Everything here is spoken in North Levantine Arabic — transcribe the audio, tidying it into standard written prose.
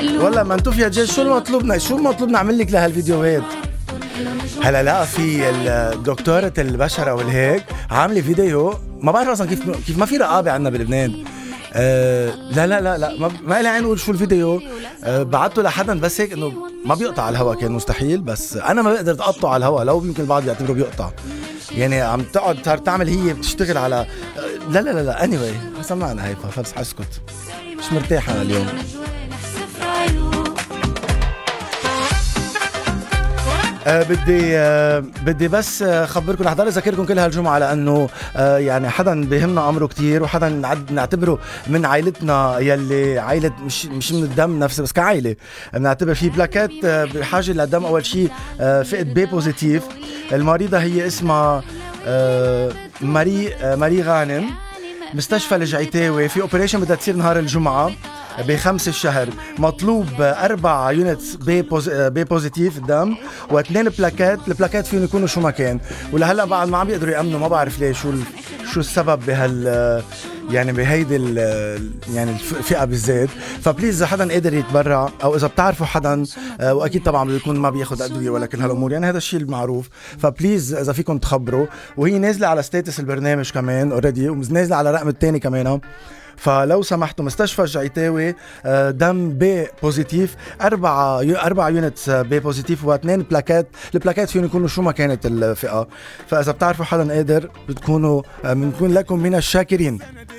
والله ما انتو فيها جيش. شو المطلوب نعمل لك لهالفيديوهات؟ هلا لا، في الدكتورة البشرة والهيك عاملة فيديو، ما بعرف اصلا كيف ما في رقابة عنا بلبنان. لا ما لي عين اقول شو الفيديو. بعته لحدا بس هيك انه ما بيقطع على الهوا، كان مستحيل، بس انا ما بقدر اقطعه على الهوا، لو يمكن البعض يعتبره بيقطع، يعني عم تقعد تعمل هي بتشتغل على لا anyway سمعنا هيك خلص حسكت، مش مرتاح انا اليوم. بدي بس خبركم، رح ضل اذكركم كل هالجمعه لانه يعني حدا بيهمنا امره كتير، وحدا نعتبره من عائلتنا، يلي عائله مش من الدم نفسه بس كعائله بنعتبر في بلاكات بحاجه للدم. اول شيء فئه بي بوزيتيف، المريضه هي اسمها ماري غانم، مستشفى الجعيتاوي، في اوبريشن بدها تصير نهار الجمعه ب5 الشهر. مطلوب 4 يونتس بي بوزيتيف الدم و2 بلاكات. البلاكات فيهم يكونوا شو ما كان، ولهلا بعد ما عم بيقدروا يأمنوا، ما بعرف ليه شو السبب يعني بهيدي يعني الفئة بالذات. فبليز اذا حدا قادر يتبرع، او اذا بتعرفوا حدا، واكيد طبعا بده يكون ما بياخد ادويه ولا كل هالامور، يعني هذا الشيء المعروف، فبليز اذا فيكم تخبروا. وهي نازله على ستاتس البرنامج كمان اوريدي، ونازله على الرقم الثاني كمان، فلو سمحتوا مستشفى الجعيتاوي، دم بي بوزيتيف، 4 يونتس بي بوزيتيف و2 بلاكات. البلاكات فيهم يكونوا شو ما كانت الفئة، فإذا بتعرفوا حدا قادر بنكون لكم من الشاكرين.